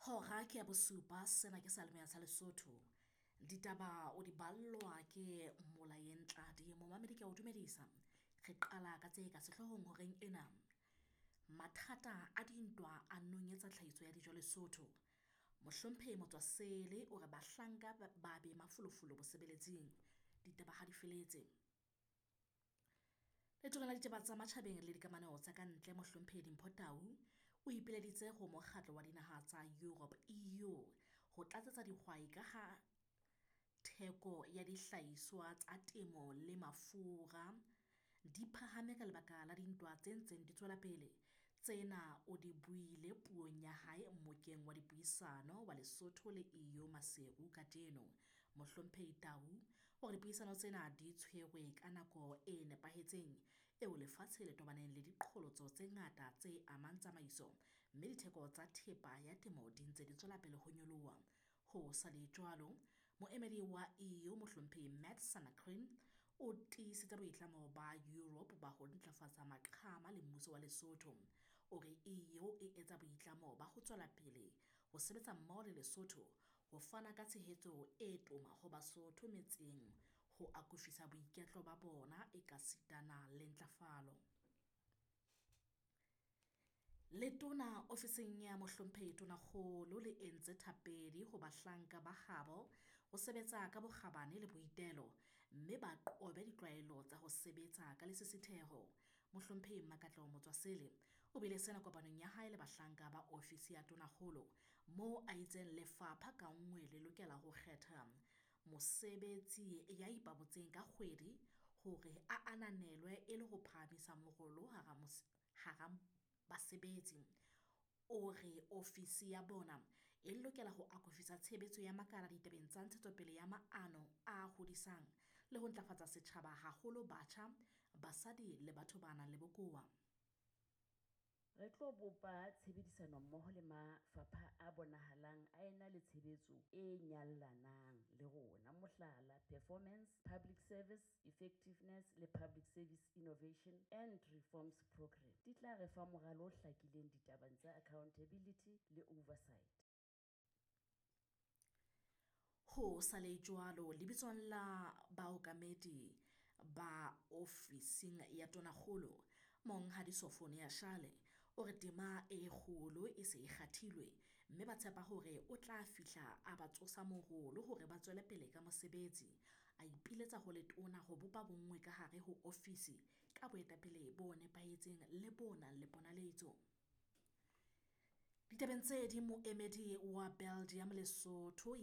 Hora ke ya bosupa sena ke seyalemoya sa Lesotho. Ditaba o di ballwa ke Molaeng Tladi. Momamedi ke a o dumedisa. Re qala ka tse ka sehloohong horeng ena. Mathata a dintwa a nonyetsa tlhahiso ya dijo Lesotho. Mohlomphehi Motswasele o re bahlanka ba be mafolofolo bosebeletsing. Ditaba ha di feletse. Letona la ditaba tsa matjhabeng le dikamano tsa ka ntle Mohlomphehi Dimpho Tau o ipileditse ho mokgatlo wa dinaha tsa Europe EU ho tlatsetsa dihwai ka ha theko ya dihlahiswa tsa temo le mafura di phahame ka lebaka la dintwa tse ntseng di tswela pele. Tsena o di buile puong ya hae mmokeng wa dipuisano wa Lesotho le EU Maseru kajeno. Mohlomphehi Tau o re dipuisano tsena di tshwerwe ka nako e nepahetseng eo lefatshe le tobaneng le diqholotso tse ngata tse amang tsamaiso, mme ditheko tsa thepa ya temo di ntse di tswela pele ho nyoloha. Ho sa le jwalo, moemedi wa EU Mohlomphehi Matt Sanakrin o tiisitse boitlamo ba Europe ba ho ntlafatsa maqhama le mmuso wa Lesotho. O re EU e etsa boitlamo ba ho tswela pele ho sebetsa mmoho le Lesotho ho fana ka tshehetso e toma ho Basotho metseng ho akofisa boiketlo ba bona ekasitana le ntlafalo. Letona ofising ya Mohlomphehi Tonakgolo le entse thapedi ho bahlanka ba habo ho sebetsa ka bokgabane le boitelo, mme ba qobe ditlwaelo tsa ho sebetsa ka lesisitheho. Mohlomphehi Makatleho Motswasele o buile sena kopanong ya hae le bahlanka ba ofisi ya Tonakgolo moo a itseng lefapha ka nngwe le lokela ho kgetha mosebetsi ya ipabotseng ka kgwedi hore a ananelwe e le ho phahamisa morolo hara basebetsi. O re ofisi ya bona e lokela ho akofisa tshebetso ya makala ditabeng tsa ntshetsopele ya maano a hodisang le ho ntlafatsa setjhaba haholo batjha, basadi le batho ba nang le bokowa. Re tlo bopa tshebedisanommoho le mafapha a bonahalang a ena le tshebetso e nyallanang le rona, mohlala, Performance, Public Service Effectiveness le Public Service Innovation and Reforms Programme, di tla re fa moralo o hlakileng ditabeng tsa accountability le oversight. Ho sa le jwalo, lebitsong la baokamedi ba ofising ya Tonakgolo, Monghadi Sofonia Shale o re tema e kgolo e se e kgathilwe, mme ba tshepa hore o tla fihla a ba tsosa morolo hore ba tswele pele ka mosebetsi. A ipiletsa ho letona ho bopa bonngwe ka hare ho ofisi ka boetapele bo nepahetseng le bo nang le ponaletso. Ditabeng tse ding, moemedi wa Belgium Lesotho